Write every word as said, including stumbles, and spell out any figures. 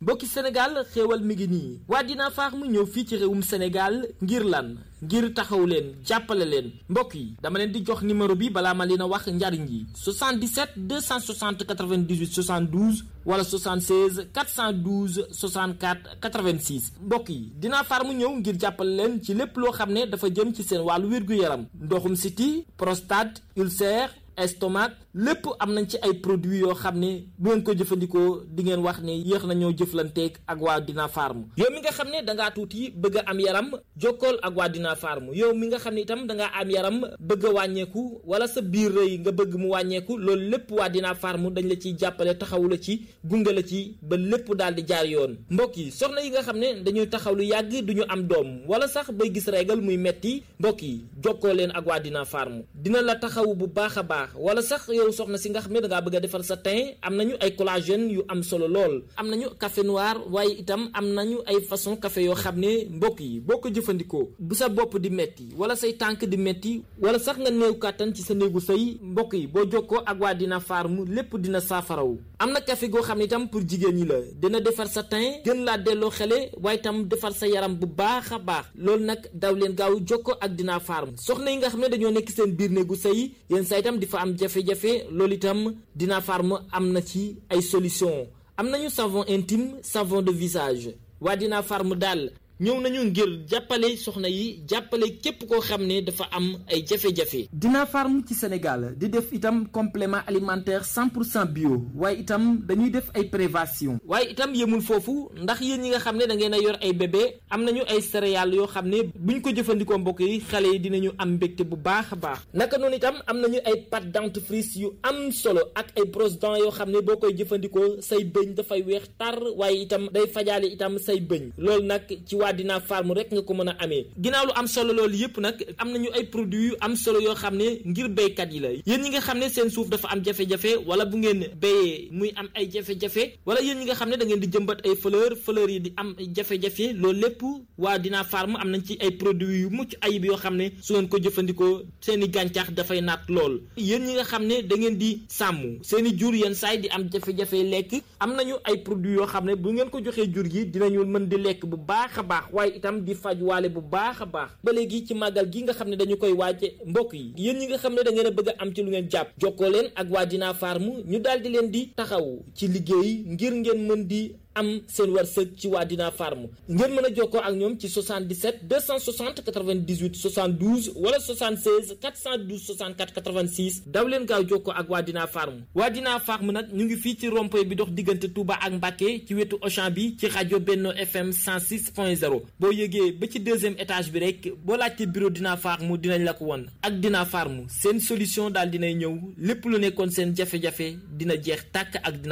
mbokki Sénégal xéewal mi ngi nii waa Dina Farm ñëw fii ci réewum Sénégal ngir lan ngir taxaw leen jàppale leen mbokk yi dama leen di jox numéro bi balaa ma leen a wax njariñ yi soixante-dix-sept deux cent soixante quatre-vingt-dix-huit soixante-douze wala soixante-seize quatre cent douze soixante-quatre quatre-vingt-six mbokk yi Dina Farm ñëw ngir jàppale leen ci lépp loo xam ne dafa jëm ci seen wàllu wér-gu-yaram ndoxum siti prostate ulcère estomac lépp am nañ ci ay produits yoo xam ne bu ngeen ko jëfandikoo di ngeen wax ne yéex nañoo jëflanteeg ak waa Dina Farm yow mi nga xam ne dangaa tuuti bëgg a am yaram jokkool ak waa Dina Farm yow mi nga xam ne itam dangaa am yaram bëgg a wàññeeku wala sa biir rëy nga bëgg mu wàññeeku loolu lépp waa Dina Farm dañ la ciy jàppale taxawu la ci gunge la ci ba lépp daal di jaar yoon mbokk yi soxna yi nga xam ne dañuy taxaw lu yàgg duñu am doom wala sax bay gis régal muy metti mbokk yi jokkoo leen ak waa Dina Farm dina la taxawu bu baax a baax wala sax yow soxna si nga xam ne dangaa bëgg a defar sa teint am nañu ay collagène yu am solo lool am nañu café noir waaye itam am nañu ay façon café yoo xam ne mbokk yi boo ko jëfandikoo bu sa bopp di metti wala say tànk di metti wala sax nga néew kàttan ci sa néegu sëy mbokk yi boo jokkoo ak waa Dina Farm lépp dina saafaraw am na café goo xam ne itam pour jigéen ñi la dina defar sa teint gën laa delloo xele waaye itam defar sa yaram bu baax a baax loolu nag daw leen gaaw jokkoo ak Dina Farm soxna yi nga xam ne dañoo nekk seen biir néegu sëy yéen sa itam di fa am jafe-jafe loolu itam Dina Farm am na ci ay solution am nañu savon intime savon de visage waa Dina Farm daal ñëw nañu ngir jàppale soxna yi jàppale képp koo xam ne dafa am ay jafe-jafe. Dina Farm ci Sénégal di def itam complément alimentaire cent pour cent bio waaye itam dañuy def ay prévention waaye itam yemul foofu ndax yéen ñi nga xam ne da ngeen a yor ay bébé am nañu ay céréales yoo xam ne buñ ko jëfandikoo mbokk yi xale yi dinañu am mbégte bu baax a baax naka noonu itam am nañu ay pâte dentifrice yu am solo ak ay brosse dents yoo xam ne boo koy jëfandikoo say bëñ dafay weex tar waaye itam day fajaale itam say bëñ loolu nag ci waa Dina Farm rek nga ko mën a amee ginnaaw lu am solo loolu yëpp nag am nañu ay produits yu am solo yoo xam ne ngir béykat yi la yéen ñi nga xam ne seen suuf dafa am jafe-jafe wala bu ngeen béyee muy am ay jafe-jafe wala yéen ñi nga xam ne da ngeen di jëmbat ay fleur fleur yi di am jafe-jafe loolu lépp waa Dina Farm am nañ ci ay produits yu mucc ayib yoo xam ne su ngeen ko jëfandikoo seen i gàncax dafay naat lool yéen ñi nga xam ne da ngeen di sàmm seen i jur yenn saay di am jafe-jafe lekk am nañu ay produits yoo xam ne bu ngeen ko joxee jur gi dinañu mën di lekk bu baax a baax waaye itam di faj waale bu baax a baax ba léegi ci màggal gi nga xam ne dañu koy waaje mbokk yi yéen ñi nga xam ne da ngeen a bëgg a am ci lu ngeen jàpp jokkoo leen ak waa Dina Farm ñu daal di leen di taxaw ci liggéey ngir ngeen mën di am seen wërsëg ci waa Dina Farm ngeen mën a jokkoo ak ñoom ci soixante-dix-sept deux cent soixante quatre-vingt-dix-huit soixante-douze wala soixante-seize quatre cent douze soixante-quatre quatre-vingt-six daw leen gaaw jokkoo ak waa Dina Farm waa Dina Farm nag ñu ngi fii ci rond-point bi dox diggante Touba ak Mbacké ci wetu Auchan bi ci rajo Benno F M cent six point zéro boo yëgee ba ci deuxième étage bi rek boo laajte bureau Dina Farm dinañ la ko won ak Dina Farm seen solution daal dinay ñëw lépp lu nekkoon seen jafe-jafe dina jeex tàkk ak Dina